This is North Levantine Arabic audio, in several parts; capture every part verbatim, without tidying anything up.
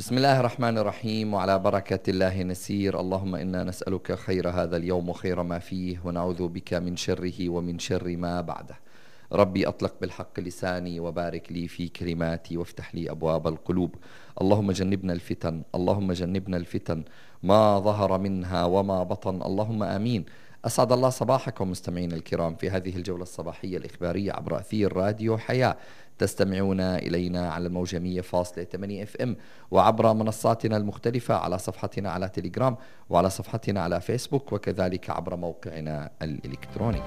بسم الله الرحمن الرحيم، وعلى بركة الله نسير. اللهم إنا نسألك خير هذا اليوم وخير ما فيه، ونعوذ بك من شره ومن شر ما بعده. ربي أطلق بالحق لساني، وبارك لي في كلماتي، وافتح لي أبواب القلوب. اللهم جنبنا الفتن، اللهم جنبنا الفتن ما ظهر منها وما بطن، اللهم آمين. أسعد الله صباحكم مستمعين الكرام في هذه الجولة الصباحية الإخبارية عبر أثير راديو حياة. تستمعون إلينا على الموجة مية فاصلة ثمانية اف ام، وعبر منصاتنا المختلفة على صفحتنا على تليجرام، وعلى صفحتنا على فيسبوك، وكذلك عبر موقعنا الإلكتروني.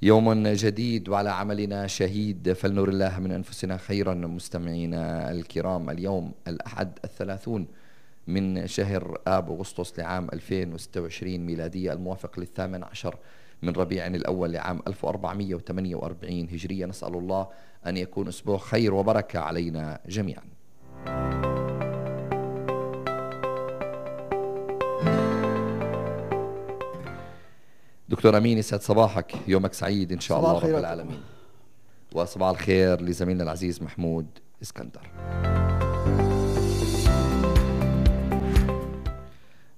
يوم جديد وعلى عملنا شهيد، فلنر الله من أنفسنا خيرا. مستمعينا الكرام، اليوم الأحد الثلاثون من شهر آب أغسطس لعام ألفين وستة وعشرين ميلادية، الموافق للثامن عشر من ربيع الأول لعام ألف وأربعمائة وثمانية وأربعين هجرية. نسأل الله أن يكون أسبوع خير وبركة علينا جميعا. دكتور أمين، يسعد صباحك، يومك سعيد إن شاء الله رب العالمين. وصباح الخير لزميلنا العزيز محمود اسكندر.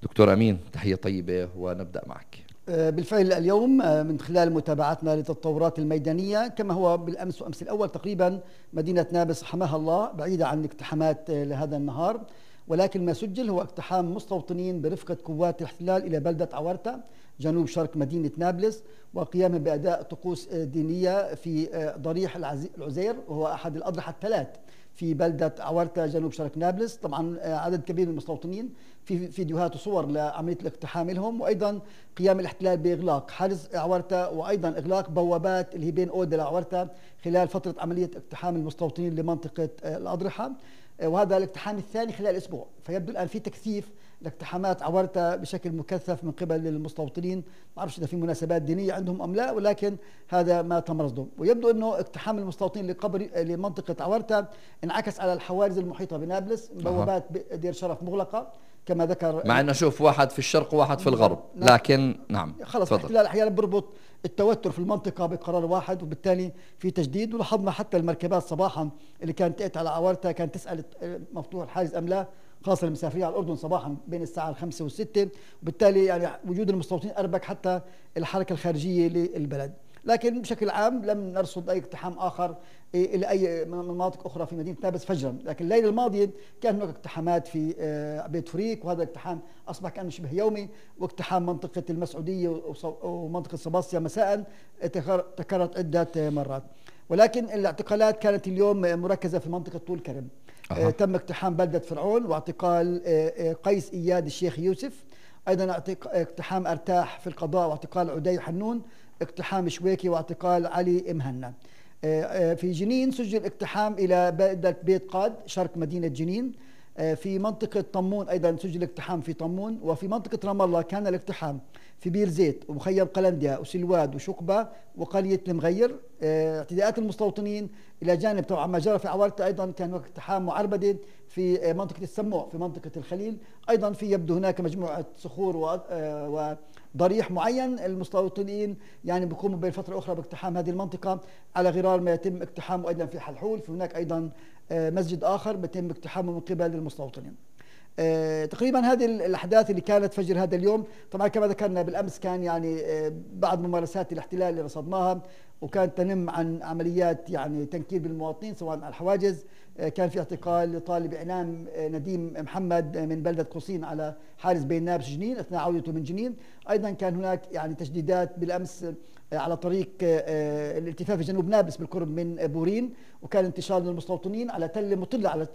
دكتور أمين، تحية طيبة ونبدأ معك. بالفعل اليوم من خلال متابعتنا للتطورات الميدانية، كما هو بالأمس وأمس الأول تقريبا، مدينة نابلس حماها الله بعيدة عن اقتحامات لهذا النهار، ولكن ما سجل هو اقتحام مستوطنين برفقة قوات الاحتلال إلى بلدة عورتا جنوب شرق مدينة نابلس، وقيامهم بأداء طقوس دينية في ضريح العزير، وهو أحد الأضرحة الثلاث في بلدة عورتا جنوب شرق نابلس. طبعا عدد كبير من المستوطنين، في فيديوهات وصور لعملية الاقتحام لهم، وأيضا قيام الاحتلال بإغلاق حاجز عورتا، وأيضا إغلاق بوابات اللي هي بين أودة لعورتا خلال فترة عملية اقتحام المستوطنين لمنطقة الأضرحة، وهذا الاقتحام الثاني خلال أسبوع. فيبدو الآن في تكثيف لاقتحامات عورتا بشكل مكثف من قبل المستوطنين. ما بعرفش إذا في مناسبات دينية عندهم أم لا، ولكن هذا ما تم رصده. ويبدو أنه اقتحام المستوطنين لقبر لمنطقة عورتا انعكس على الحواجز المحيطة بنابلس، بوابات دير شرف مغلقة كما ذكر، مع أنه شوف واحد في الشرق وواحد في الغرب، لكن نعم خلص الاحتلال أحيانا بربط التوتر في المنطقة بقرار واحد، وبالتالي في تجديد. ولاحظنا حتى المركبات صباحا اللي كانت تأتي على عورتا كانت تسأل مفتوح الحاجز أم لا، خاصة المسافرين على الأردن صباحا بين الساعة الخمسة والستة، وبالتالي يعني وجود المستوطنين أربك حتى الحركة الخارجية للبلد. لكن بشكل عام لم نرصد أي اقتحام آخر إلى أي مناطق أخرى في مدينة نابلس فجرا. لكن الليلة الماضية كان هناك اقتحامات في بيت فريق، وهذا الاقتحام أصبح كأنه شبه يومي، واقتحام منطقة المسعودية ومنطقة صباصيا مساء تكررت عدة مرات. ولكن الاعتقالات كانت اليوم مركزة في منطقة طول كرم. أه. تم اقتحام بلدة فرعون واعتقال قيس إياد الشيخ يوسف، أيضا اقتحام أرتاح في القضاء واعتقال عدي حنون، اقتحام شويكي واعتقال علي مهنا. في جنين سجل اقتحام إلى بلدة بيت قاد شرق مدينة جنين. في منطقة طمون أيضا سجل اقتحام في طمون. وفي منطقة رام الله كان الاقتحام في بير زيت ومخيم قلنديا وسلواد وشقبة وقرية المغير. اعتداءات المستوطنين إلى جانب طبعا ما جرى في عورتا، أيضا كان هناك اقتحام معربدة في منطقة السموع في منطقة الخليل. أيضا في يبدو هناك مجموعة صخور وضريح معين، المستوطنين يعني بيقوموا بين فترة أخرى باقتحام هذه المنطقة على غرار ما يتم اقتحامه أيضا في حلحول. في هناك أيضا مسجد آخر بيتم اقتحامه من قبل المستوطنين. آه تقريبا هذه الأحداث اللي كانت فجر هذا اليوم. طبعا كما ذكرنا بالأمس كان يعني آه بعض ممارسات الاحتلال اللي رصدناها، وكانت تنم عن عمليات يعني تنكيل بالمواطنين سواء على الحواجز. آه كان في اعتقال لطالب إعلام آه نديم محمد من بلدة قصين على حارس بين نابلس جنين أثناء عودته من جنين. أيضا كان هناك يعني تجديدات بالأمس آه على طريق آه الالتفاف في جنوب نابلس بالقرب من بورين، وكان انتشار للمستوطنين على تل مطلة على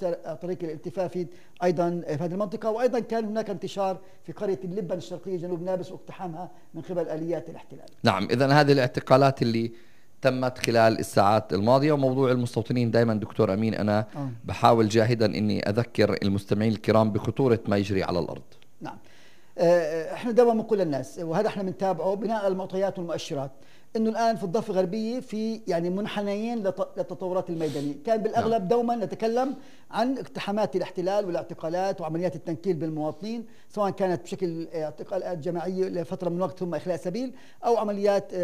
طريق الالتفافي أيضا في هذه المنطقة. وأيضا كان هناك انتشار في قرية اللبن الشرقية جنوب نابلس واقتحامها من قبل آليات الاحتلال. نعم، إذن هذه الاعتقالات اللي تمت خلال الساعات الماضية. وموضوع المستوطنين دائما دكتور أمين أنا آه. بحاول جاهدا أني أذكر المستمعين الكرام بخطورة ما يجري على الأرض. نعم، احنا دائما بنقول للناس، وهذا احنا بنتابعه بناء على المعطيات والمؤشرات، انه الان في الضفه الغربيه في يعني منحنيين للتطورات الميدانيه، كان بالاغلب دوما نتكلم عن اقتحامات الاحتلال والاعتقالات وعمليات التنكيل بالمواطنين، سواء كانت بشكل اعتقالات جماعيه لفتره من الوقت ثم اخلاء سبيل او عمليات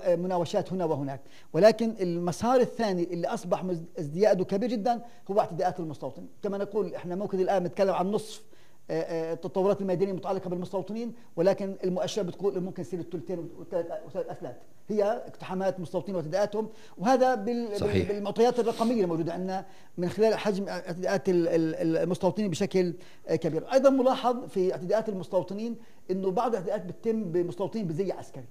مناوشات هنا وهناك، ولكن المسار الثاني اللي اصبح ازدياده كبير جدا هو اعتداءات المستوطن، كما نقول احنا ممكن الان نتكلم عن نصف التطورات الميدانيه المتعلقه بالمستوطنين، ولكن المؤشر بتقول ممكن يصير الثلثين وثلاث اثلاث هي اقتحامات المستوطنين واعتداءاتهم، وهذا بالمعطيات الرقميه الموجوده عندنا من خلال حجم اعتداءات المستوطنين بشكل كبير. ايضا ملاحظ في اعتداءات المستوطنين انه بعض الاعتداءات بتتم بمستوطنين بزي عسكري،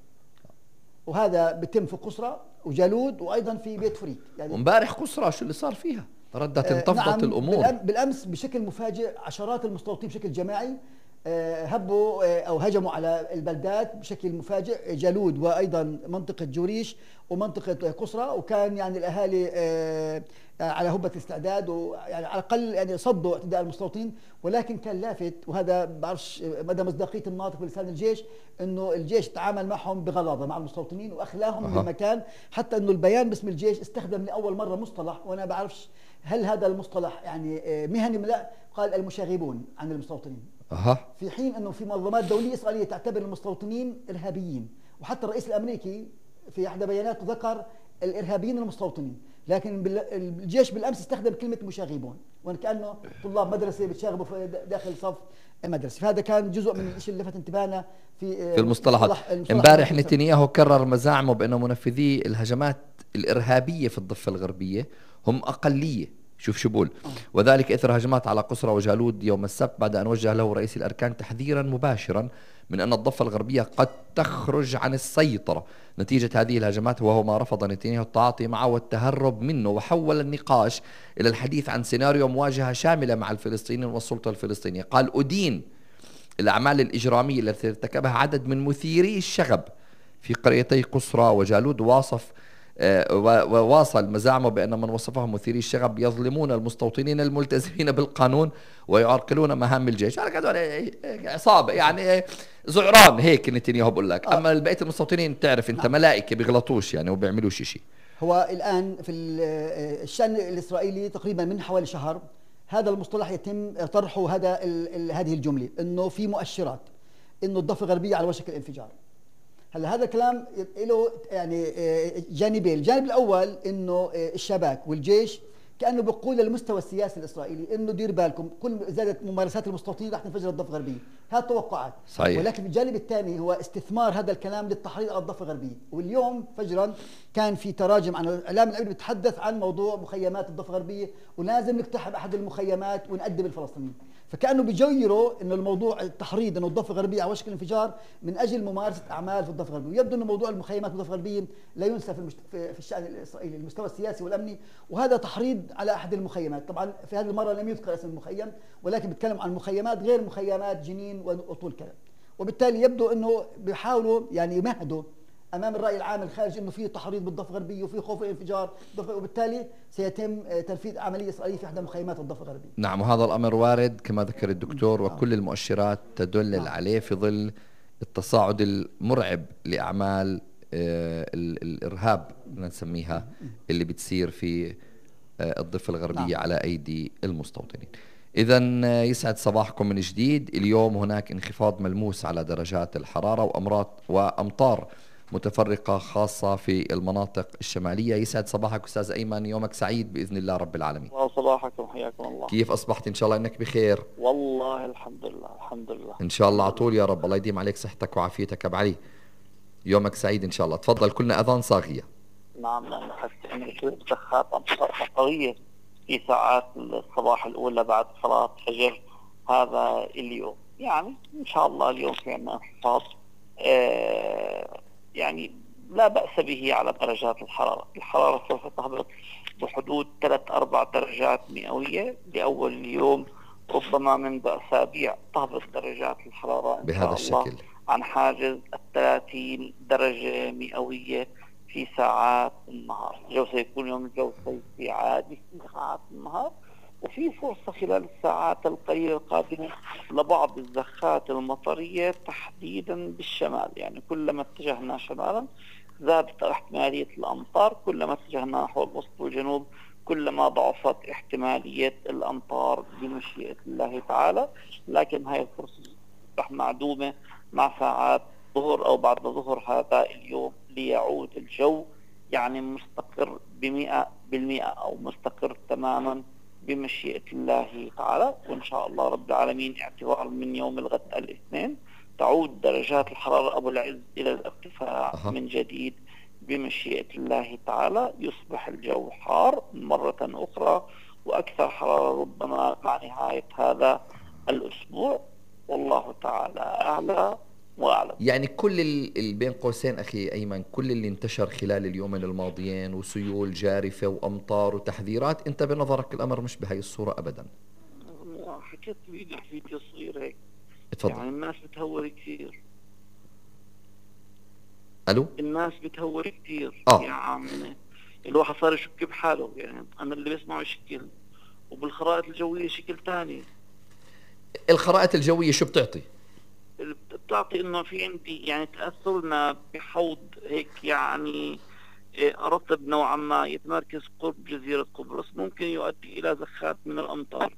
وهذا بتم في قصرى وجالود وايضا في بيت فريد. يعني وامبارح قصرى شو اللي صار فيها؟ ردت انتفضت نعم الامور بالامس بشكل مفاجئ، عشرات المستوطنين بشكل جماعي هبوا او هجموا على البلدات بشكل مفاجئ، جالود وايضا منطقه جوريش ومنطقه قصرى، وكان يعني الاهالي على هبه الاستعداد ويعني على الاقل يعني صدوا اعتداء المستوطنين، ولكن كان لافت وهذا بعرفش مدى مصداقيه الناطق بلسان الجيش انه الجيش تعامل معهم بغلاظه مع المستوطنين واخلاهم أه. بالمكان، حتى انه البيان باسم الجيش استخدم لاول مره مصطلح وانا بعرفش هل هذا المصطلح يعني مهني ولا لا، قال المشاغبون عن المستوطنين. أه. في حين انه في منظمات دوليه اسرائيليه تعتبر المستوطنين ارهابيين، وحتى الرئيس الامريكي في احدى بياناته ذكر الارهابيين المستوطنين، لكن الجيش بالامس استخدم كلمه مشاغبون وكانه طلاب مدرسه بتشاغبوا داخل صف المدرسه، فهذا كان جزء من الشيء اللي لفت انتباهنا في في المصطلحات. امبارح نتنياهو كرر مزاعمه بانه منفذي الهجمات الارهابيه في الضفه الغربيه هم اقليه، شوف شو بقول، وذلك اثر هجمات على قصرى وجالود يوم السبت، بعد ان وجه له رئيس الاركان تحذيرا مباشرا من ان الضفه الغربيه قد تخرج عن السيطره نتيجه هذه الهجمات، وهو ما رفض نتنياهو التعاطي معه والتهرب منه، وحول النقاش الى الحديث عن سيناريو مواجهه شامله مع الفلسطينيين والسلطه الفلسطينية. قال: أدين الاعمال الاجراميه التي ارتكبها عدد من مثيري الشغب في قريتي قصرى وجالود، واصف وواصل مزاعمه بأن من وصفهم مثيري الشغب يظلمون المستوطنين الملتزمين بالقانون ويعرقلون مهام الجيش. عصابة يعني زعران هيك نتنياهو بقول لك. أما بقية المستوطنين تعرف أنت ملائكة بيغلطوش يعني وبيعملوش شيء. هو الآن في الشأن الإسرائيلي تقريبا من حوالي شهر هذا المصطلح يتم طرحه، هذا هذه الجملة إنه في مؤشرات إنه الضفة الغربية على وشك الانفجار. هلا هذا الكلام له يعني جانبين، الجانب الاول انه الشباك والجيش كانه بيقول للمستوى السياسي الاسرائيلي انه دير بالكم كل زادت ممارسات المستوطنين رح تنفجر الضفه الغربيه، هذه توقعات صحيح. ولكن الجانب الثاني هو استثمار هذا الكلام للتحريض على الضفه الغربيه، واليوم فجرا كان في تراجم عن الاعلام العبري بيتحدث عن موضوع مخيمات الضفه الغربيه ولازم نقتحم احد المخيمات ونأدب الفلسطينيين، فكانه بيجيروا انه الموضوع التحريض انه الضفه الغربيه على وشك الانفجار من اجل ممارسه اعمال في الضفه الغربيه، ويبدو انه موضوع المخيمات في الضفه الغربيه لا ينسى في, المشت... في الشان الاسرائيلي المستوى السياسي والامني، وهذا تحريض على احد المخيمات. طبعا في هذه المره لم يذكر اسم المخيم ولكن بيتكلم عن مخيمات غير مخيمات جنين وطول كلام، وبالتالي يبدو انه بيحاولوا يعني يمهدوا امام الراي العام الخارجي انه في تحريض بالضفه الغربيه وفي خوف الانفجار، وبالتالي سيتم تنفيذ عمليه اسرائيليه في احدى مخيمات الضفه الغربيه. نعم، وهذا الامر وارد كما ذكر الدكتور، وكل المؤشرات تدل نعم. عليه في ظل التصاعد المرعب لاعمال آه الارهاب نسميها اللي بتصير في آه الضفه الغربيه نعم. على ايدي المستوطنين. إذا يسعد صباحكم من جديد. اليوم هناك انخفاض ملموس على درجات الحرارة وأمراض وأمطار متفرقة خاصة في المناطق الشمالية. يسعد صباحك أستاذ أيمن، يومك سعيد بإذن الله رب العالمين. صباحكم، حياكم الله. كيف أصبحت؟ إن شاء الله إنك بخير. والله الحمد لله الحمد لله إن شاء الله على طول يا رب. الله يديم عليك صحتك وعافيتك أبو علي. يومك سعيد إن شاء الله. تفضل، كلنا أذان صاغية. نعم نعم. حسيت بسخات أمطار قوية في ساعات الصباح الأولى بعد صلاة الفجر هذا اليوم، يعني إن شاء الله اليوم في عنا انخفاض آه يعني لا بأس به على درجات الحرارة. الحرارة سوف تهبط بحدود ثلاث أربع درجات مئوية لأول اليوم، ربما منذ أسابيع تهبط درجات الحرارة إن بهذا شاء الله الشكل عن حاجز الثلاثين درجة مئوية في ساعات النهار. الجو سيكون يوم الجو صيفي عادي في ساعات النهار، وفي فرصة خلال الساعات القليلة القادمة لبعض الزخات المطرية تحديدا بالشمال، يعني كلما اتجهنا شمالا زادت احتمالية الأمطار. كلما اتجهنا نحو الوسط والجنوب كلما ضعفت احتمالية الأمطار بمشيئة الله تعالى. لكن هاي الفرصة رح معدومة مع ساعات ظهر أو بعد ظهر هذا اليوم ليعود الجو يعني مستقر بمئة بالمئة أو مستقر تماما بمشيئة الله تعالى. وإن شاء الله رب العالمين اعتبارا من يوم الغد الاثنين تعود درجات الحرارة أبو العز إلى الارتفاع أه. من جديد بمشيئة الله تعالى. يصبح الجو حار مرة أخرى وأكثر حرارة ربما مع نهاية هذا الأسبوع، والله تعالى أعلى وأعلم. يعني كل اللي بين قوسين أخي أيمن، كل اللي انتشر خلال اليومين الماضيين وسيول جارفة وأمطار وتحذيرات، أنت بنظرك الأمر مش بهاي الصورة أبدا؟ حكيت فيديو فيديو صغير هيك. اتفضل. يعني الناس بتهور كثير. ألو؟ الناس بتهور كثير. آه. يعني الواحد صار يشك بحاله. يعني أنا اللي بسمعه شكل وبالخرائط الجوية شكل تاني. الخرائط الجوية شو بتعطي؟ بتعطي انه في عندي يعني تأثرنا بحوض هيك يعني رطب نوعا ما يتمركز قرب جزيرة قبرص ممكن يؤدي الى زخات من الامطار،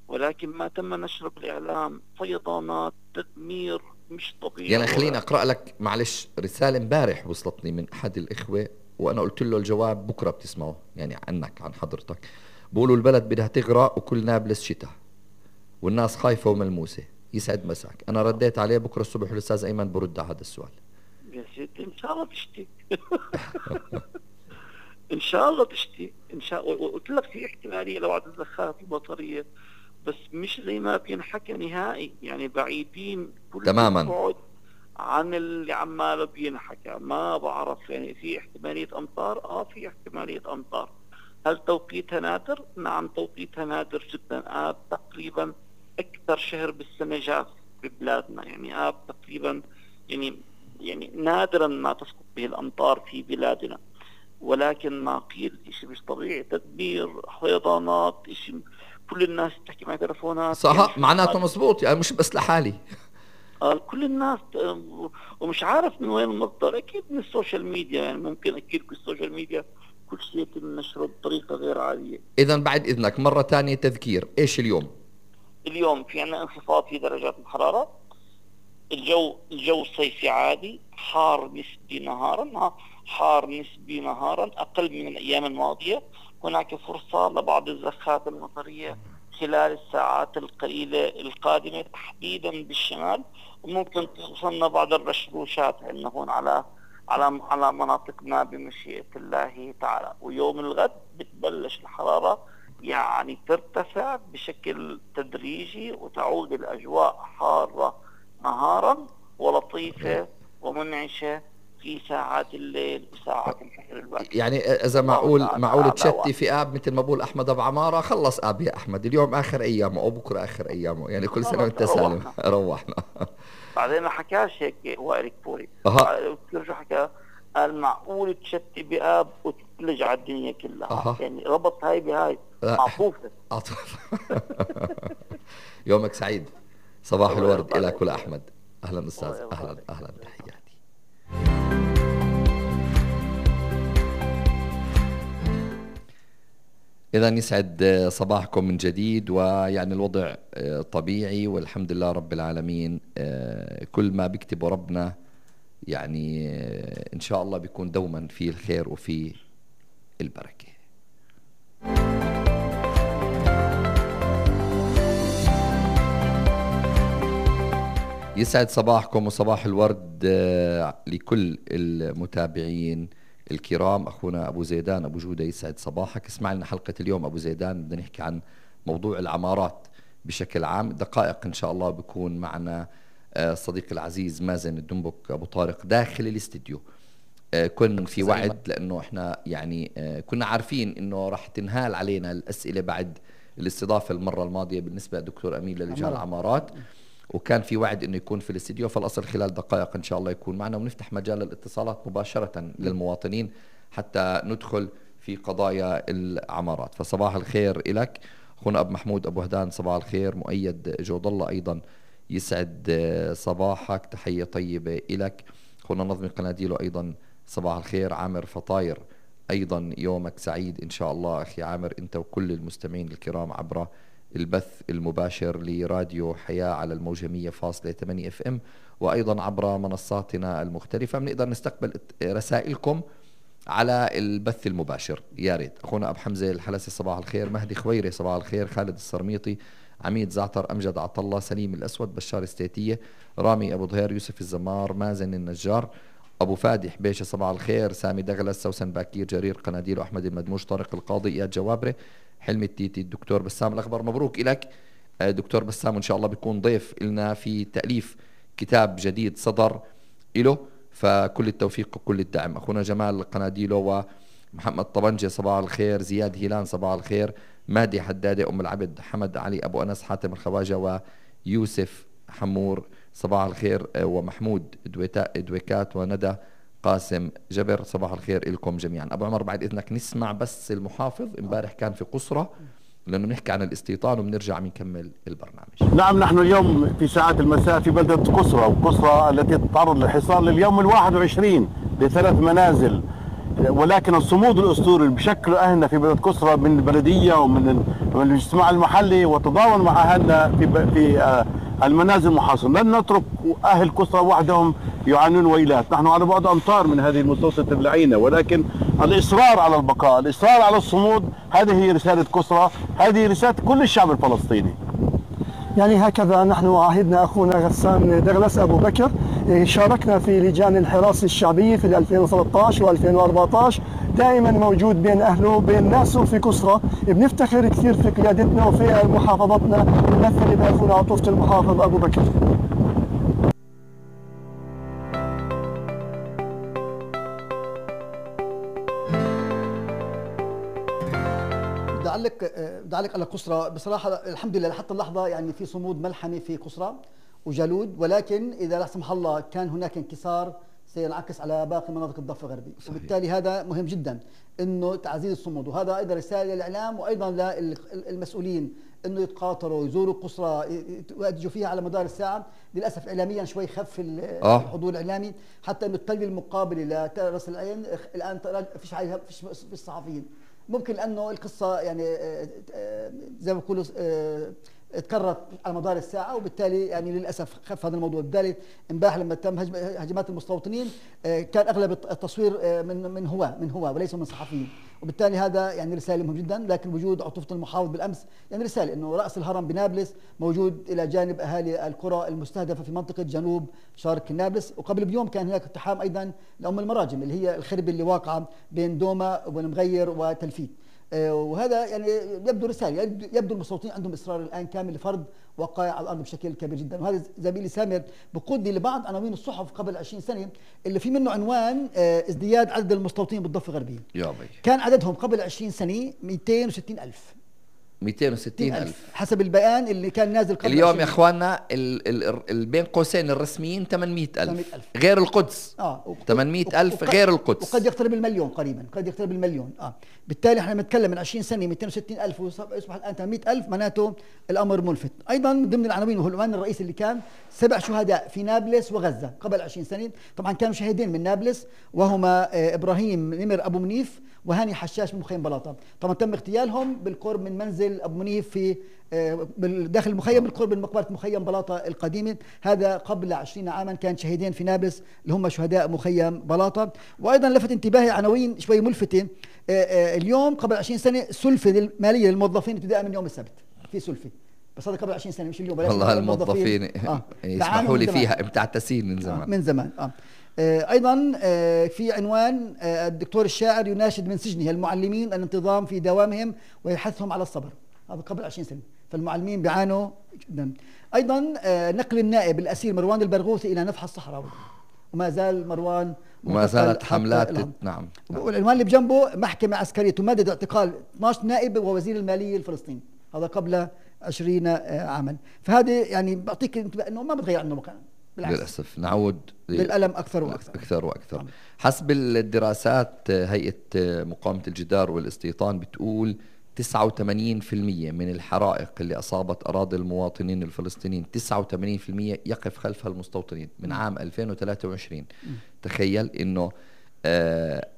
ولكن ما تم نشر بالاعلام فيضانات تدمير مش طبيعي. يعني خليني اقرأ لك معلش رسالة امبارح وصلتني من احد الاخوة وانا قلت له الجواب بكرة بتسمعه يعني عنك عن حضرتك. بقولوا البلد بدها تغرق وكل نابلس شتاء والناس خايفة وملموسة. يسعد مساك. أنا رديت عليه بكرة الصبح والأستاذ أيمن برد على هذا السؤال. يا سيدي إن شاء الله تشتي. إن شاء الله تشتي إن شاء الله. قلت لك في احتمالية لبعض الزخات البطرية بس مش زي ما بينحكى نهائي. يعني بعيدين كل تماما بعد عن اللي عماله بينحكى. ما بعرف يعني في احتمالية أمطار. آه في احتمالية أمطار. هل توقيتها نادر؟ نعم توقيتها نادر جدا. آه تقريبا أكثر شهر بالسنة جاف ببلادنا. يعني آب تقريبا يعني يعني نادرا ما تسقط به الأمطار في بلادنا، ولكن ما قيل إشي مش طبيعي. تدمير فيضانات إشي كل الناس تحكي مع تلفونات. صح يعني معناته مزبوط يعني مش بس لحالي. آه كل الناس ومش عارف من وين المصدر. أكيد من السوشيال ميديا. يعني ممكن أكيد بالسوشيال ميديا كل شيء يتم نشره بطريقة غير عادية. إذا بعد إذنك مرة تانية تذكير إيش اليوم؟ اليوم في عندنا انخفاض في درجات الحرارة. الجو الجو صيفي عادي حار نسبي نهارا حار نسبي نهارا أقل من الأيام الماضية. هناك فرصة لبعض الزخات المطرية خلال الساعات القليلة القادمة تحديدا بالشمال وممكن توصلنا بعض الرشروشات عندنا هون على على على مناطقنا بمشيئة الله تعالى. ويوم الغد بتبلش الحرارة يعني ترتفع بشكل تدريجي وتعود الأجواء حارة نهارا ولطيفة ومنعشة في ساعات الليل وساعات الفجر الباكر. يعني إذا معقول معقول تشتي في آب مثل ما بقول أحمد أبو عمارة. خلص آب يا أحمد اليوم آخر أيامه أو بكرة آخر أيامه. يعني كل سنة وأنت سالم. روحنا. بعدين ما حكاش هيك وائل كفوري. شو حكى؟ قال معقول تشتي بآب وتتلج على الدنيا كلها. أه. يعني ربط هاي بهاي معطوفة. يومك سعيد. صباح الورد إلك ولا أحمد. أهلا أستاذ. أهلا أهلا تحياتي. إذا يسعد صباحكم من جديد. ويعني الوضع طبيعي والحمد لله رب العالمين. كل ما بيكتبه ربنا يعني إن شاء الله بيكون دوما فيه الخير وفيه البركة. يسعد صباحكم وصباح الورد لكل المتابعين الكرام. أخونا أبو زيدان أبو جودة يسعد صباحك. اسمع لنا حلقة اليوم أبو زيدان. بدنا نحكي عن موضوع العمارات بشكل عام. دقائق إن شاء الله بيكون معنا صديق العزيز مازن الدنبك أبو طارق داخل الاستديو. كن في وعد لأنه إحنا يعني كنا عارفين إنه راح تنهال علينا الأسئلة بعد الاستضافة المرة الماضية بالنسبة لدكتور أمين للجان العمارات، وكان في وعد إنه يكون في الاستديو. فالأصل خلال دقائق إن شاء الله يكون معنا ونفتح مجال الاتصالات مباشرة للمواطنين حتى ندخل في قضايا العمارات. فصباح الخير إلك أخونا أبو محمود أبو هدان. صباح الخير. مؤيد جود الله أيضا يسعد صباحك. تحية طيبة إلك. أخونا نظمي قناديله أيضا صباح الخير عامر فطاير، أيضا يومك سعيد إن شاء الله أخي عامر أنت وكل المستمعين الكرام عبر البث المباشر لراديو حياة على الموجة مية فاصلة ثمانية اف ام، وأيضا عبر منصاتنا المختلفة. بنقدر نستقبل رسائلكم على البث المباشر يا ريت. أخونا أبو حمزة الحلسي صباح الخير، مهدي خويري صباح الخير، خالد السرميطي، عميد زعتر، أمجد عطلة، سليم الأسود، بشار استيتية، رامي أبو ظهير، يوسف الزمار، مازن النجار، أبو فادي حبيشة صباح الخير، سامي دغلس، سوسن باكير، جرير قناديل، وأحمد المدموج، طارق القاضي، إياد جوابرة، حلمي التيتي، الدكتور بسام الأخبر. مبروك إلك دكتور بسام، وإن شاء الله بيكون ضيف لنا في تأليف كتاب جديد صدر إله، فكل التوفيق وكل الدعم. أخونا جمال قناديلو ومحمد طبنجة صباح الخير، زياد هيلان صباح الخير، مادي حدادة، أم العبد، حمد علي أبو أنس، حاتم الخواجة، ويوسف حمور صباح الخير، ومحمود دويكات، وندى قاسم جبر صباح الخير لكم جميعا. أبو عمر بعد إذنك نسمع بس المحافظ، امبارح كان في قصرة لأنه نحكي عن الاستيطان وبنرجع بنكمل البرنامج. نعم، نحن اليوم في ساعات المساء في بلدة قصرة، وقصرة التي تتعرض للحصار لليوم الواحد وعشرين لثلاث منازل، ولكن الصمود الأسطوري اللي بشكله أهلنا في بلدة قصرة من البلدية ومن الاجتماع المحلي وتضامن مع أهلنا في في المنازل المحاصرة. لن نترك أهل قصرة وحدهم يعانون ويلات، نحن على بعد أمتار من هذه المتوسطة اللعينة، ولكن الإصرار على البقاء، الإصرار على الصمود، هذه هي رسالة قصرة، هذه رسالة كل الشعب الفلسطيني. يعني هكذا نحن عاهدنا أخونا غسان دغلس أبو بكر، شاركنا في لجان الحراسة الشعبية في ألفين وثلاثة عشر وألفين وأربعة عشر، دائما موجود بين أهله وبين ناسه في قصرة. بنفتخر كثير في قيادتنا وفي محافظتنا، نمثل بأخونا عطوفة المحافظ أبو بكر. بدي أعلق بدي أعلق على قصرة. بصراحة الحمد لله لحتى اللحظة يعني في صمود ملحمي في قصرة وجالود، ولكن إذا لا سمح الله كان هناك انكسار سينعكس على باقي مناطق الضفة الغربي. صحيح. وبالتالي هذا مهم جدا انه تعزيز الصمود، وهذا ايضا رساله للاعلام وايضا للمسؤولين انه يتقاطروا يزوروا قصرى يواجهوا فيها على مدار الساعه. للاسف اعلاميا شوي خف الحضور الاعلامي، حتى انه التلويه المقابله لراس العين الان فيش عليها فيش في الصحفيين، ممكن لانه القصه يعني زي ما بيقولوا تكررت على مدار الساعه، وبالتالي يعني للاسف خف هذا الموضوع. بالتالي امبارح لما تم هجمات المستوطنين كان اغلب التصوير من من هو من هو وليس من صحفيين، وبالتالي هذا يعني رساله مهمه جدا. لكن وجود عطوفه المحافظ بالامس يعني رساله انه راس الهرم بنابلس موجود الى جانب اهالي القرى المستهدفه في منطقه جنوب شرق نابلس. وقبل بيوم كان هناك اقتحام ايضا لام المراجم اللي هي الخربه اللي واقعه بين دوما والمغير وتلفيت، وهذا يعني يبدو رساله، يبدو المستوطنين عندهم اصرار الان كامل لفرض وقائع على الارض بشكل كبير جدا. وهذا زميلي سامر بقودني لبعض عناوين الصحف قبل عشرين سنه اللي في منه عنوان ازدياد عدد المستوطنين بالضفه الغربية. كان عددهم قبل عشرين سنه مئتين وستين ألف مئتين وستين ألف حسب البيان اللي كان نازل قبل اليوم يا اخواننا ال ال ال بين قوسين الرسميين ثمانمئة ألف غير القدس. اه ثمانمئة ألف غير القدس، وقد يقترب المليون قريبا، قد يقترب المليون. اه بالتالي احنا بنتكلم من عشرين سنه مئتين وستين ألف ويصبح الان ثمانمئة ألف، معناته الامر ملفت. ايضا ضمن العناوين وهو العنوان الرئيسي اللي كان سبع شهداء في نابلس وغزه قبل عشرين سنه. طبعا كانوا شهيدين من نابلس وهما آه ابراهيم نمر ابو منيف وهاني حشاش من مخيم بلاطه. طبعا تم اغتيالهم بالقرب من منزل ابو منيف في داخل المخيم بالقرب من مقبره مخيم بلاطه القديمه. هذا قبل عشرين عاما كان شهيدين في نابلس اللي هم شهداء مخيم بلاطه. وايضا لفت انتباهي عناوين شوي ملفته. اليوم قبل عشرين سنه سلفه الماليه للموظفين ابتداء من يوم السبت، في سلفه بس هذا قبل عشرين سنه مش اليوم. والله الموظفين آه. يسمحوا لي فيها متعتسين من زمان. آه. من زمان اه أيضا في عنوان الدكتور الشاعر يناشد من سجنه المعلمين الانتظام في دوامهم ويحثهم على الصبر. هذا قبل عشرين سنة، فالمعلمين بيعانوا جدا. أيضا نقل النائب الأسير مروان البرغوثي إلى نفح الصحراء، وما زال مروان وما زالت حملات. نعم, نعم. والعنوان اللي بجنبه محكمة عسكرية تمدد اعتقال اثني عشر نائب ووزير المالية الفلسطيني، هذا قبل عشرين عاما. فهذه يعني بعطيك انه ما بتغير عنه مكان، بالعكس للأسف نعود للألم أكثر وأكثر أكثر وأكثر. طبعا. حسب الدراسات هيئة مقاومة الجدار والاستيطان بتقول تسعة وثمانين بالمئة من الحرائق اللي أصابت أراضي المواطنين الفلسطينيين تسعة وثمانين بالمئة يقف خلفها المستوطنين من عام ألفين وثلاثة وعشرين. م. تخيل إنه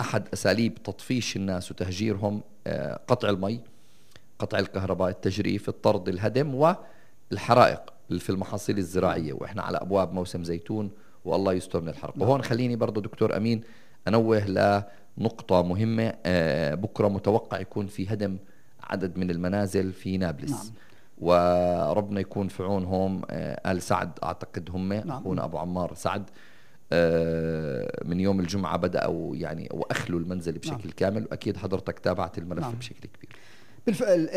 أحد أساليب تطفيش الناس وتهجيرهم قطع المي، قطع الكهرباء، التجريف، الطرد، الهدم، والحرائق في المحاصيل الزراعية، وإحنا على أبواب موسم زيتون والله يستر من الحرق. وهون خليني برضو دكتور أمين أنوه لنقطة مهمة. بكرة متوقع يكون في هدم عدد من المنازل في نابلس. نعم. وربنا يكون في عونهم. آل سعد أعتقد هم أخونا نعم. أبو عمار سعد من يوم الجمعة بدأوا يعني وأخلوا المنزل بشكل نعم. كامل، وأكيد حضرتك تابعت الملف نعم. بشكل كبير. بالفعل.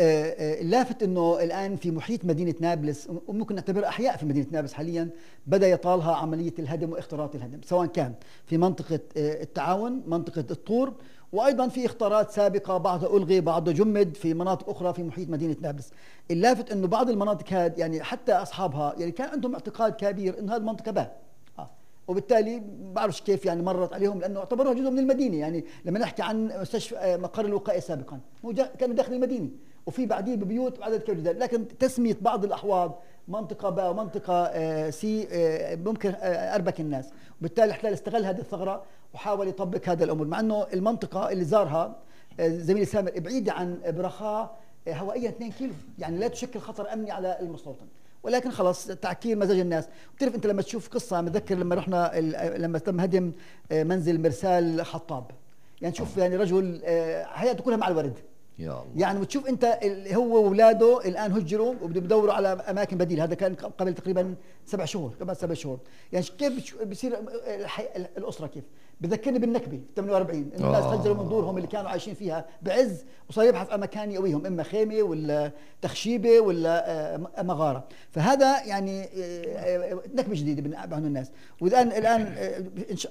اللافت أنه الآن في محيط مدينة نابلس، وممكن نعتبر أحياء في مدينة نابلس حاليا، بدأ يطالها عملية الهدم واختراط الهدم، سواء كان في منطقة التعاون، منطقة الطور، وأيضا في اختارات سابقة بعضها ألغي بعضها جمد في مناطق أخرى في محيط مدينة نابلس. اللافت أنه بعض المناطق هذه يعني حتى أصحابها يعني كان عندهم اعتقاد كبير أن هذه المنطقة باه، وبالتالي بعرفش كيف يعني مرت عليهم، لانه اعتبروها جزء من المدينه. يعني لما نحكي عن مستشفى مقر الوقائي سابقا كانوا داخل المدينه، وفي بعديه ببيوت وعدد كبير جدا، لكن تسميه بعض الاحواض منطقه باء ومنطقه سي ممكن اربك الناس، وبالتالي الاحتلال استغل هذه الثغره وحاول يطبق هذا الامور، مع انه المنطقه اللي زارها زميلي سامر بعيده عن برخاء هوائيا اثنين كيلو، يعني لا تشكل خطر امني على المستوطن، ولكن خلاص تعكير مزاج الناس. بتعرف انت لما تشوف قصه، متذكر لما رحنا لما تم هدم منزل مرسال حطاب، يعني تشوف يعني رجل حياته كلها مع الورد، يا الله. يعني وتشوف انت هو واولاده الان هجروا وبدهم يدوروا على اماكن بديله، هذا كان قبل تقريبا سبع شهور قبل سبع شهور. يعني كيف بيصير الاسره، كيف بذكرني بالنكبه ثمانية وأربعين، الناس هجروا من دورهم اللي كانوا عايشين فيها بعز، وصار يبحث عن مكان يقويهم، اما خيمه ولا تخشيبه ولا مغاره. فهذا يعني نكبه جديده عند الناس. والان الان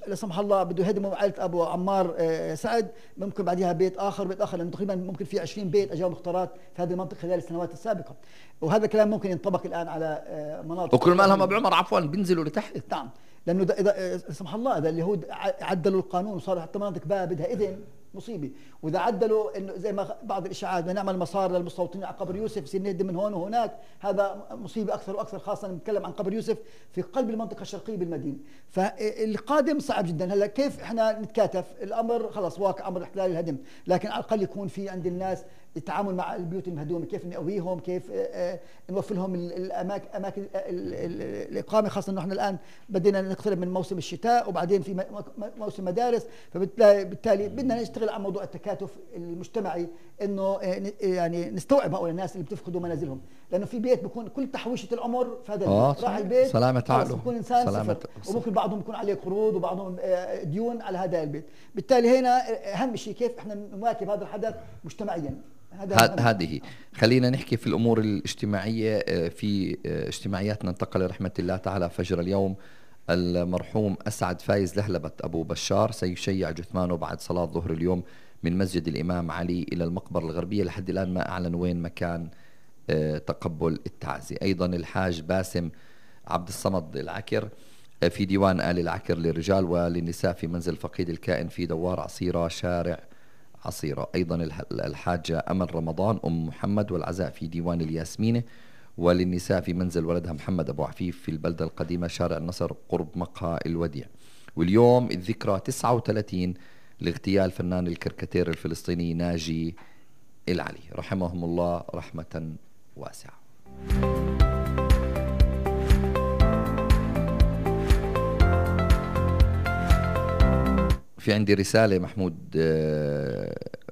لا سمح الله بده يهدموا عائله ابو عمار سعد، ممكن بعدها بيت اخر بيت اخر، لانه تقريبا ممكن في عشرين بيت اجاهم مختارات في هذه المنطقه خلال السنوات السابقه، وهذا الكلام ممكن ينطبق الان على مناطق. وكل ما لهم ابو عمر عفوا بينزلوا لتحت. نعم، لانه اذا سمح الله اذا اليهود عدلوا القانون وصار حتى مناطق بقى بدها اذن مصيبه، واذا عدلوا انه زي ما بعض الاشاعات بدنا نعمل مسار للمستوطنين على قبر يوسف يصير نهدم من هون وهناك، هذا مصيبه اكثر واكثر، خاصه نتكلم عن قبر يوسف في قلب المنطقه الشرقيه بالمدينه. فالقادم صعب جدا. هلا كيف احنا نتكاتف؟ الامر خلاص واقع، امر احتلال الهدم، لكن على الاقل يكون في عند الناس التعامل مع البيوت المهدومه، كيف نقويهم، كيف نوفر لهم الاماكن اماكن الاقامه، خاصه انه احنا الان بدينا نقترب من موسم الشتاء وبعدين في موسم مدارس، فبالتالي بدنا نشتغل على موضوع التكاتف المجتمعي، انه يعني نستوعب هؤلاء الناس اللي بتفقدوا منازلهم، لانه في بيت بيكون كل تحويشه العمر في هذا البيت، راح البيت سلامة عقله بيكون انسان صفر، وممكن بعضهم يكون عليه قروض وبعضهم ديون على هذا البيت. بالتالي هنا اهم شيء كيف احنا نواكب هذا الحدث مجتمعيا. هذه خلينا نحكي في الأمور الاجتماعية. في اجتماعياتنا انتقل رحمة الله تعالى فجر اليوم المرحوم أسعد فايز لهلبة أبو بشار، سيشيع جثمانه بعد صلاة ظهر اليوم من مسجد الإمام علي إلى المقبرة الغربية. لحد الآن ما أعلن وين مكان تقبل التعزية. أيضا الحاج باسم عبد الصمد العكر في ديوان آل العكر للرجال وللنساء في منزل فقيد الكائن في دوار عصيرة شارع عصيرة. أيضا الحاجة أمل رمضان أم محمد والعزاء في ديوان الياسمينة، وللنساء في منزل ولدها محمد أبو عفيف في البلدة القديمة شارع النصر قرب مقهى الوديع. واليوم الذكرى تسعة وثلاثين لاغتيال فنان الكاريكاتير الفلسطيني ناجي العلي، رحمهم الله رحمة واسعة. في عندي رسالة محمود،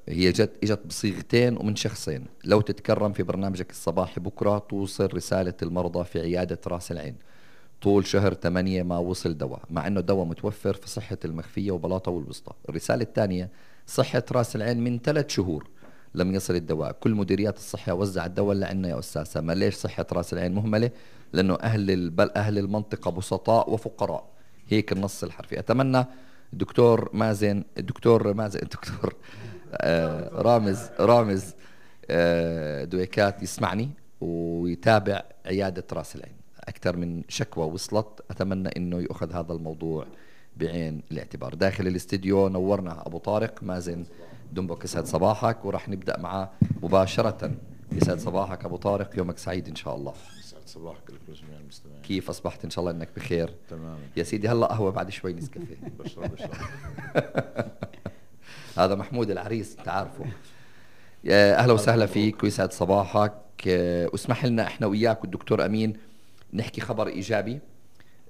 هي جت اجت بصيغتين ومن شخصين. لو تتكرم في برنامجك الصباحي بكرة توصل رسالة المرضى في عيادة راس العين، طول شهر ثمانية ما وصل دواء، مع انه الدواء متوفر في صحة المخفية وبلاطة والوسطى. الرسالة الثانية، صحة راس العين من ثلاث شهور لم يصل الدواء، كل مديريات الصحة وزع الدواء لعنا يا أستاذ سما. ليش صحة راس العين مهملة؟ لأنه أهل البل أهل المنطقة بسطاء وفقراء، هيك النص الحرفي. أتمنى الدكتور مازن الدكتور مازن الدكتور آه رامز رامز آه دويكات يسمعني ويتابع عيادة راس العين. أكثر من شكوى وصلت، أتمنى إنه يأخذ هذا الموضوع بعين الاعتبار. داخل الاستديو نورنا أبو طارق مازن دنبك، يسعد صباحك، ورح نبدأ معه مباشرة. يسعد صباحك أبو طارق، يومك سعيد إن شاء الله. يسعد صباحك لك ولجميع المستمعين. كيف أصبحت؟ إن شاء الله إنك بخير. تماما يا سيدي هلا قهوة بعد شوي نسكافيه. بشرب بشرب. هذا محمود العريس أنت عارفه. أهلا وسهلا فيك ويسعد صباحك. واسمح لنا إحنا وياك والدكتور أمين نحكي خبر إيجابي.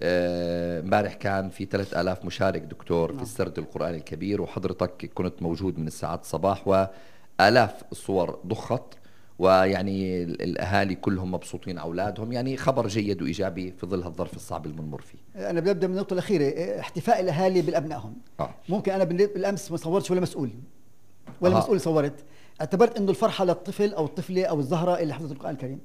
امبارح كان في ثلاثة آلاف مشارك دكتور في السرد القرآني الكبير، وحضرتك كنت موجود من الساعات الصباح، وآلاف الصور ضخت، ويعني الأهالي كلهم مبسوطين أولادهم. يعني خبر جيد وإيجابي في ظل الظرف الصعب اللي بنمر فيه. أنا ببدأ من النقطة الأخيرة، احتفاء الأهالي بالأبنائهم. آه. ممكن أنا بالأمس ما صورتش ولا مسؤول ولا آه. مسؤول صورت، اعتبرت إنه الفرحة للطفل أو الطفلة أو الزهرة اللي حفظت القرآن الكريم.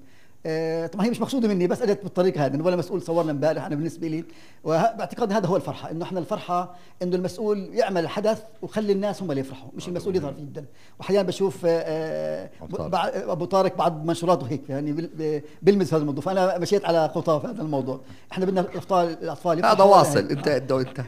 آه طبعا هي مش مقصوده مني، بس اجت بالطريقه هذه، ولا مسؤول صورنا امبارح. انا بالنسبه لي وباعتقاد هذا هو الفرحه، انه احنا الفرحه انه المسؤول يعمل حدث وخلي الناس هم اللي يفرحوا، مش المسؤول يظهر فيه جدا. واحيانا بشوف آه ابو طارق بعض منشوراته هيك يعني بلمس في هذا الموضوع، فانا مشيت على خطاه في هذا الموضوع. احنا بدنا الاطفال الاطفال هذا واصل انت انت وانت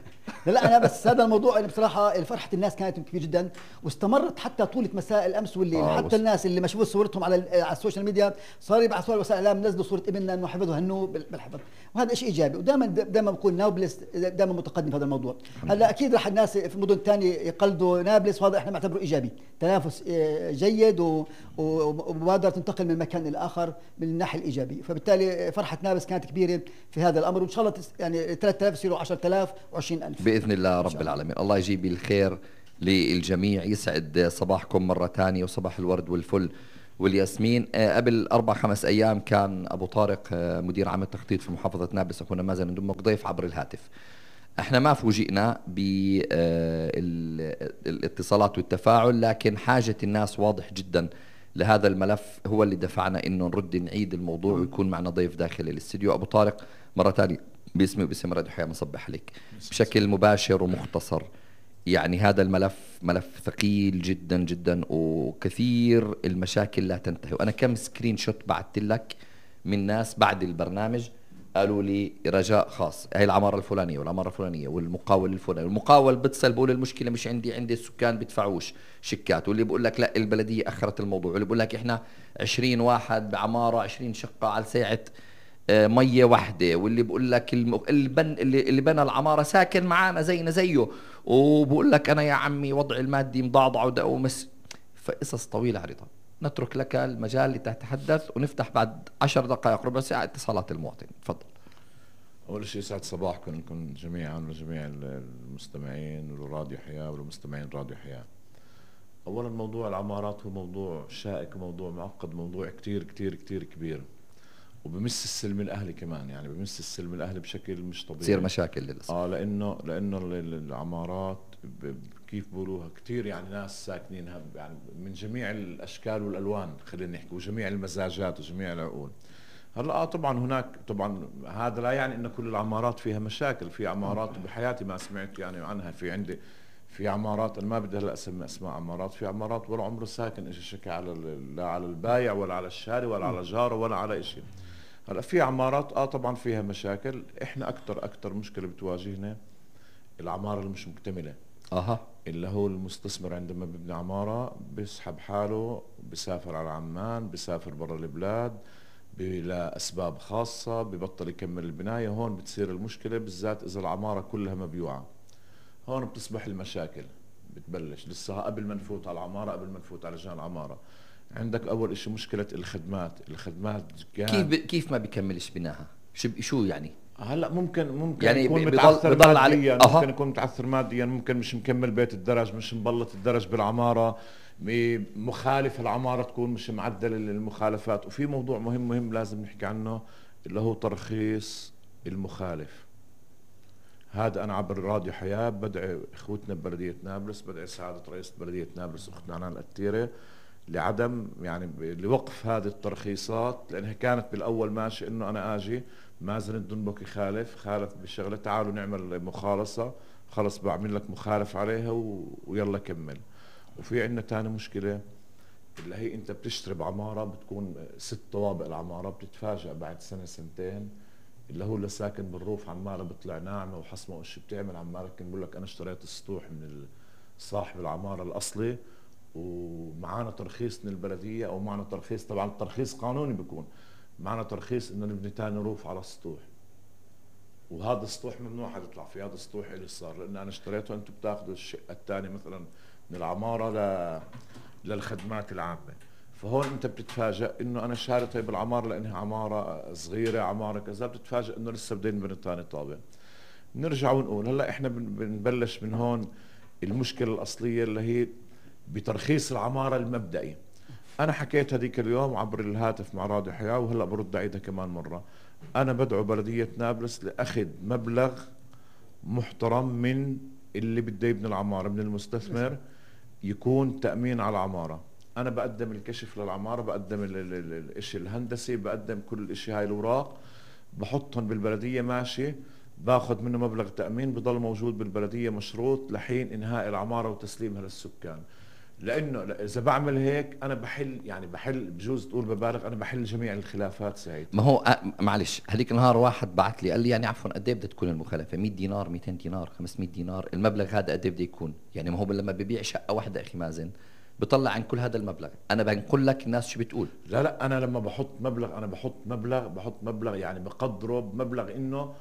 لا انا بس هذا الموضوع يعني بصراحه فرحه الناس كانت كبيره جدا، واستمرت حتى طولة مساء الامس والليل. آه حتى الناس اللي ما شافوا صورتهم على على السوشيال ميديا صاروا يبعثوا وسائل الاعلام نزلوا صوره ابننا انه حفظه هنوه بالحفظ، وهذا شيء ايجابي. ودائما دائما بكون نابلس دائما متقدم في هذا الموضوع. هلا اكيد راح الناس في المدن الثانيه يقلدوا نابلس، وهذا احنا بنعتبره ايجابي، تنافس جيد ومبادره تنتقل من مكان الى اخر من الناحيه الايجابيه. فبالتالي فرحه نابلس كانت كبيره في هذا الامر، وان شاء الله يعني ثلاثة آلاف يصيروا عشرة آلاف وعشرين ألف باذن الله رب العالمين. الله يجيب الخير للجميع. يسعد صباحكم مره ثانيه وصباح الورد والفل والياسمين. قبل أربع خمس أيام كان أبو طارق مدير عام التخطيط في محافظة نابلس أخونا مازن ندمك ضيف عبر الهاتف. احنا ما فوجئنا بالاتصالات والتفاعل، لكن حاجة الناس واضح جدا لهذا الملف هو اللي دفعنا انه نرد نعيد الموضوع ويكون معنا ضيف داخل الاستديو. أبو طارق مرة ثانية باسمي وباسم راديو حياة مصبح عليك بشكل مباشر ومختصر. يعني هذا الملف ملف ثقيل جدا جدا، وكثير المشاكل لا تنتهي. وأنا كم سكرين شوت بعثت لك من ناس بعد البرنامج قالوا لي رجاء خاص، هاي العمارة الفلانية والعمارة الفلانية والمقاول الفلاني، والمقاول بتصل بقول المشكلة مش عندي، عندي السكان بيدفعوش شيكات، واللي بقول لك لا البلدية أخرت الموضوع، واللي بقول لك إحنا عشرين واحد بعمارة عشرين شقة على ساعة مية واحدة، واللي بقول لك البن اللي, اللي بنى العمارة ساكن معانا زينا زيه، وبقول لك أنا يا عمي وضعي المادي مضعضع ومس. فقصص طويلة عريضة. نترك لك المجال لتتحدث ونفتح بعد عشر دقائق ربع ساعة اتصالات المواطن. تفضل. أول شيء يسعد صباحكم لكم جميعا وجميع المستمعين وراديو حياة والمستمعين راديو حياة. أولا موضوع العمارات هو موضوع شائك وموضوع معقد، موضوع كتير كتير كتير كبير، وبمس السلم الاهلي كمان، يعني بمس السلم الاهلي بشكل مش طبيعي. تصير مشاكل للاسف. اه لانه لانه العمارات كيف بقولوها كثير يعني ناس ساكنينها يعني من جميع الاشكال والالوان، خلينا نحكي، وجميع المزاجات وجميع العقول. هلا اه طبعا هناك طبعا هذا لا يعني ان كل العمارات فيها مشاكل، في عمارات بحياتي ما سمعت يعني عنها، في عندي في عمارات انا ما بدي هلا اسمي اسماء عمارات، في عمارات ولا عمره ساكن اجى شكى على لا على البايع ولا على الشاري ولا على جاره ولا على شيء. هلا في عمارات اه طبعا فيها مشاكل. احنا اكثر اكثر مشكله بتواجهنا العماره اللي مش مكتمله. اها اللي هو المستثمر عندما بيبني عماره بيسحب حاله، بيسافر على عمان، بيسافر برا البلاد لاسباب خاصه، ببطل يكمل البنايه. هون بتصير المشكله بالذات اذا العماره كلها مبيوعه. هون بتصبح المشاكل بتبلش لسه قبل ما نفوت على العماره، قبل ما نفوت على لجان العماره. عندك اول شيء مشكله الخدمات، الخدمات كيف كيف ما بيكملش بناها؟ شو شو يعني؟ هلا ممكن ممكن يعني يكون بضل متعثر بضل ماديا، علي. ممكن يكون متعثر ماديا، ممكن مش مكمل بيت الدرج، مش مبلط الدرج بالعماره، مخالف العماره تكون مش معدل المخالفات. وفي موضوع مهم مهم لازم نحكي عنه اللي هو ترخيص المخالف. هذا انا عبر راديو حياه بدعي اخوتنا ببلديه نابلس، بدعي سعاده رئيس بلديه نابلس اختنا عنان القتيره لعدم يعني لوقف هذه الترخيصات، لانها كانت بالاول ماشي انه انا اجي مازن الدنبك يخالف، خالف بالشغله، تعالوا نعمل مخالصه، خلص بعمل لك مخالف عليها و... ويلا كمل. وفي عندنا ثاني مشكله اللي هي انت بتشتري بعماره بتكون ست طوابق العماره، بتتفاجئ بعد سنه سنتين اللي هو اللي ساكن بالروف عماله بيطلع ناعمه وحصمه وش بتعمل، عماله كان بقول لك انا اشتريت السطوح من صاحب العماره الاصلي ومعانا ترخيص من البلديه او معنا ترخيص، طبعا الترخيص قانوني بيكون، معنا ترخيص انه نبني تاني روف على السطوح، وهذا السطوح ممنوع حد يطلع فيه، هذا السطوح اللي صار لان انا اشتريته، انتم بتاخذوا الشقه الثانيه مثلا من العماره ل... للخدمات العامه. فهون انت بتتفاجئ انه انا شاري طيب العماره لانها عماره صغيره، عماره كذا، بتتفاجئ انه لسه بدنا نبني ثاني طابق. نرجع ونقول هلا احنا بنبلش من هون المشكله الاصليه اللي هي بترخيص العماره المبدئي. انا حكيت هذيك اليوم عبر الهاتف مع راديو حياه وهلا برد اعيدها كمان مره. انا بدعو بلديه نابلس لاخذ مبلغ محترم من اللي بده يبني العماره، من المستثمر، يكون تامين على العماره. انا بقدم الكشف للعماره، بقدم الشيء الهندسي، بقدم كل الاشياء هاي الاوراق، بحطهم بالبلديه ماشي، باخذ منه مبلغ تامين بضل موجود بالبلديه مشروط لحين انهاء العماره وتسليمها للسكان. لانه اذا بعمل هيك انا بحل، يعني بحل، بجوز تقول ببالغ، انا بحل جميع الخلافات سعيد. ما هو أ... معلش، هذيك النهار واحد بعث لي قال لي يعني عفوا قد ايه بدها تكون المخالفه؟ مية دينار، مئتين دينار، خمسمية دينار، المبلغ هذا قد ايه بده يكون؟ يعني ما هو لما ببيع شقه واحده اخي مازن بطلع عن كل هذا المبلغ. انا بنقول لك الناس شو بتقول. لا لا انا لما بحط مبلغ، انا بحط مبلغ بحط مبلغ يعني بقدره بمبلغ انه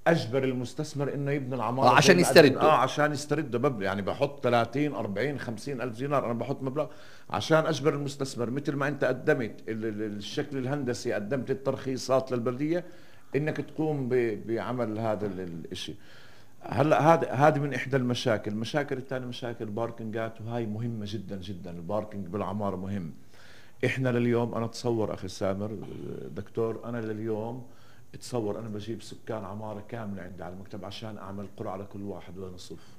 اجبر المستثمر انه يبني العماره آه عشان يسترده. اه عشان يسترده مبلغ، يعني بحط ثلاثين أربعين خمسين الف دينار، انا بحط مبلغ عشان اجبر المستثمر، مثل ما انت قدمت الشكل الهندسي، قدمت الترخيصات للبلديه، انك تقوم بعمل هذا الشيء. هلا هذا هذه من احدى المشاكل. المشاكل الثانيه مشاكل باركنجات، وهي مهمه جدا جدا. الباركنج بالعماره مهم. احنا لليوم، انا اتصور اخي سامر دكتور، انا لليوم تصور انا بجيب سكان عماره كامله عندي على المكتب عشان اعمل قرعه لكل واحد وين يصف،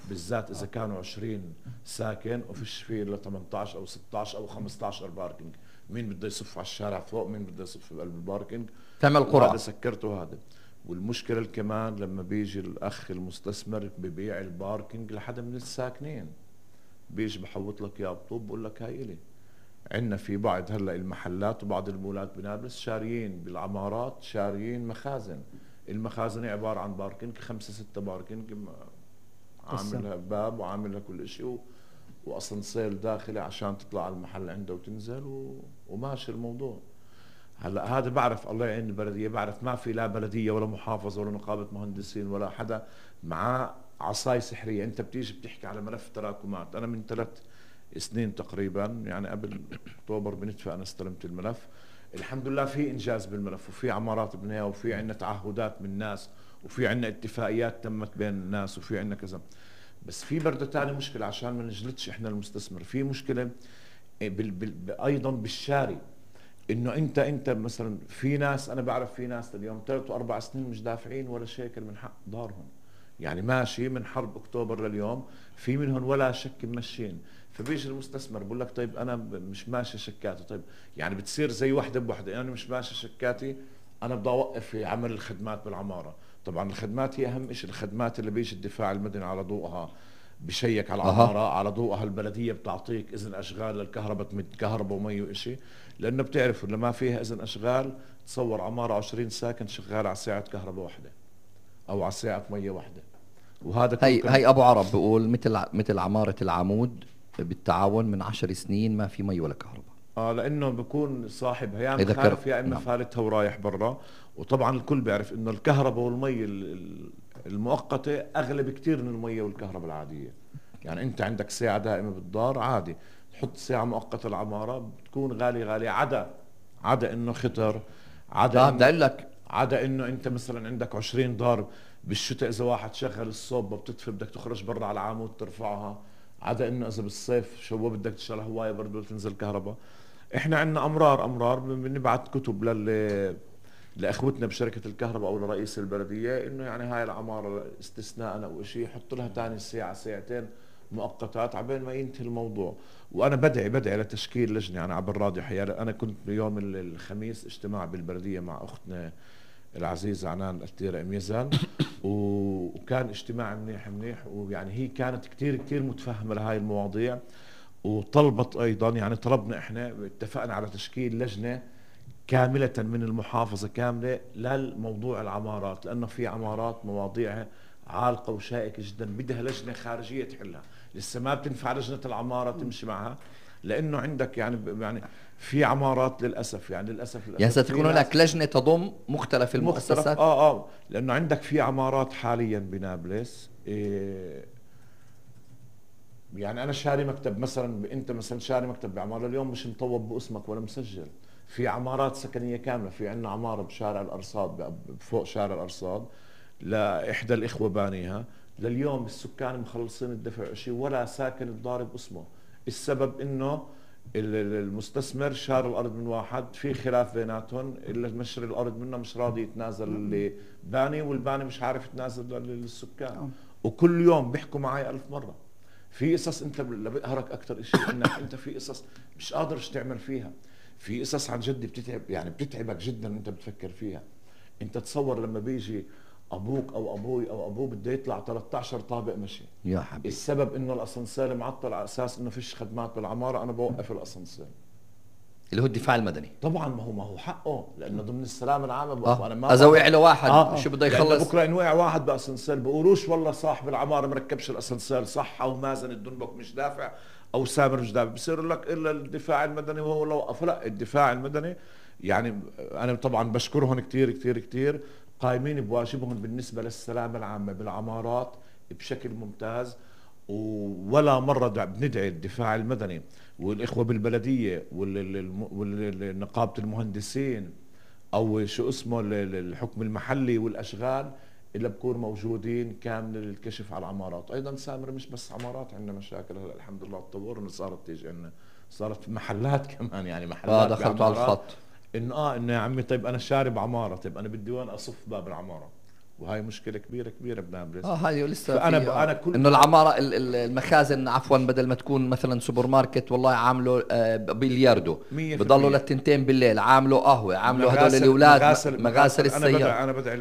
بالذات اذا كانوا عشرين ساكن وفيش فيه الا ثمانية عشر او ستة عشر او خمسة عشر باركنج، مين بده يصف على الشارع فوق، مين بده يصف بقلب الباركنج، تعمل قرعه. هذا سكرته هذا. والمشكله كمان لما بيجي الاخ المستثمر ببيع الباركنج لحدا من الساكنين، بيجي بحوط لك اياه بطوب بقول لك هاي الي. عندنا في بعض هلا المحلات وبعض المولات بنابلس شاريين بالعمارات، شاريين مخازن، المخازن عباره عن باركنج، خمسه سته باركنج، عاملها باب وعاملها كل شيء، واسانسير داخلي عشان تطلع على المحل عنده وتنزل و... وماشي الموضوع. هلا هذا بعرف الله يعين البلديه، بعرف ما في لا بلديه ولا محافظه ولا نقابه مهندسين ولا حدا معاه عصاي سحريه. انت بتيجي بتحكي على ملف تراكمات. انا من ثلاث سنين تقريبا، يعني قبل اكتوبر بنتفق، انا استلمت الملف، الحمد لله في انجاز بالملف، وفي عمارات بنيها، وفي عندنا تعهدات من الناس، وفي عندنا اتفاقيات تمت بين الناس، وفي عندنا كذا. بس في برضه ثاني مشكله عشان ما نجلدش احنا المستثمر، في مشكله بال بال ايضا بالشاري، انه انت انت مثلا في ناس، انا بعرف في ناس اليوم ثلاث واربع سنين مش دافعين ولا شيكل من حق دارهم، يعني ماشي من حرب اكتوبر لليوم في منهم ولا شك ممشين. فبيجي المستثمر بقول لك طيب انا مش ماشي شكاتي، طيب يعني بتصير زي وحده بوحده، انا يعني مش ماشي شكاتي، انا بدي اوقف في عمل الخدمات بالعماره. طبعا الخدمات هي اهم شيء، الخدمات اللي بيجي الدفاع المدني على ضوءها بشيك على العماره، أه. على ضوءها البلديه بتعطيك اذن اشغال للكهرباء، تمد كهرباء ومي وشيء، لانه بتعرفوا لما فيها اذن اشغال تصور عماره عشرين ساكن شغال على ساعه كهرباء واحده او على ساعه ميه واحده. وهذا هي هي ابو عرب بيقول مثل مثل عماره العمود بالتعاون من عشر سنين ما في مي ولا كهرباء. اه لانه بكون صاحبها يا مخالف يا اما فالتها ورايح برا. وطبعا الكل بيعرف انه الكهرباء والمي المؤقته اغلى بكثير من المي والكهرباء العاديه. يعني انت عندك ساعه دائمه بالدار عادي، تحط ساعه مؤقته العماره بتكون غاليه غاليه، عدا عدا انه خطر، عدا بدي اقول لك عدا انه انت مثلا عندك عشرين دار بالشتاء، اذا واحد شغل الصوبه بتطفي بدك تخرج برا على العمود ترفعها، عدا انه اذا بالصيف شو بدك تشتغل هوايه برضه تنزل كهرباء. احنا عندنا امرار امرار بنبعث كتب لل لاخوتنا بشركه الكهرباء او لرئيس البلديه انه يعني هاي العماره استثناء او شيء يحط لها ثاني ساعه ساعتين مؤقتات عبين ما ينتهي الموضوع. وانا بدعي بدعي لتشكيل لجنه. انا عبر راديو حياه، انا كنت بيوم الخميس اجتماع بالبلديه مع اختنا العزيزه عنان التيرة ميزان، وكان اجتماع منيح منيح، ويعني هي كانت كثير كثير متفهمه لهي المواضيع، وطلبت ايضا، يعني طلبنا احنا اتفقنا على تشكيل لجنه كامله من المحافظه كامله للموضوع العمارات، لانه في عمارات مواضيعها عالقه وشائكه جدا، بدها لجنه خارجيه تحلها. لسه ما بتنفع لجنه العماره تمشي معها، لانه عندك يعني يعني في عمارات للاسف يعني للاسف, للأسف يعني ستكون هناك لجنه تضم مختلف المؤسسات. مختلف اه اه لانه عندك في عمارات حاليا بنابلس إيه يعني انا شاري مكتب مثلا، انت مثلا شاري مكتب بعماره اليوم مش مطوب باسمك ولا مسجل. في عمارات سكنيه كامله، في عندنا عماره بشارع الارصاد فوق شارع الارصاد لاحدى الاخوه بانيها، لليوم السكان مخلصين الدفع شيء ولا ساكن الضارب اسمه. السبب انه المستثمر شار الارض من واحد، في خلاف بيناتهم، اللي مشتري الارض منه مش راضي يتنازل اللي باني، والباني مش عارف يتنازل للسكان. وكل يوم بيحكوا معي ألف مره في قصص انت اللي بيقهرك اكثر شيء انك انت في قصص مش قادرش تعمل فيها، في قصص عن جد بتتعب يعني بتتعبك جدا انت بتفكر فيها. انت تصور لما بيجي ابوك او ابوي او ابوه بده يطلع ثلاثة عشر طابق مشي يا حبيبي، السبب انه الاسانسير معطل على اساس انه فيش خدمات بالعماره، انا بوقف الاسانسير اللي هو الدفاع المدني. طبعا ما هو ما هو حقه لانه ضمن السلام العام. آه. انا ما اذا وقع له واحد آه. شو بده يخلص؟ بكره ان وقع واحد باسانسير بقولوش والله صاحب العماره مركبش الاسانسير صح، او مازن الدنبك مش دافع، او سامر مش دافع، بصير لك الا الدفاع المدني وهو لو وقف. لا، الدفاع المدني يعني انا طبعا بشكرهم كثير كثير كثير، قائمين بواجبهم بالنسبه للسلامه العامه بالعمارات بشكل ممتاز. ولا مرة بندعي الدفاع المدني والإخوة بالبلدية والنقابة المهندسين أو شو اسمه الحكم المحلي والأشغال اللي بكون موجودين كامل للكشف على العمارات. أيضا سامر مش بس عمارات، عندنا مشاكل هلا الحمد لله تطورنا، صارت تيجي عندنا صارت محلات كمان، يعني محلات اه دخلتوا على الخط إنه آه إنه يا عمي طيب أنا شارب عمارة، طيب أنا بدي وين أصف باب العمارة، وهي مشكلة كبيرة كبيرة بنابلس. اه هاي لسه فأنا أنا كل إنه العمارة المخازن عفوا بدل ما تكون مثلا سوبر ماركت والله عامله آه بلياردو بضلوا للتنتين بالليل، عامله قهوة، عامله هدول الأولاد مغاسل, مغاسل السيارة. أنا بدعي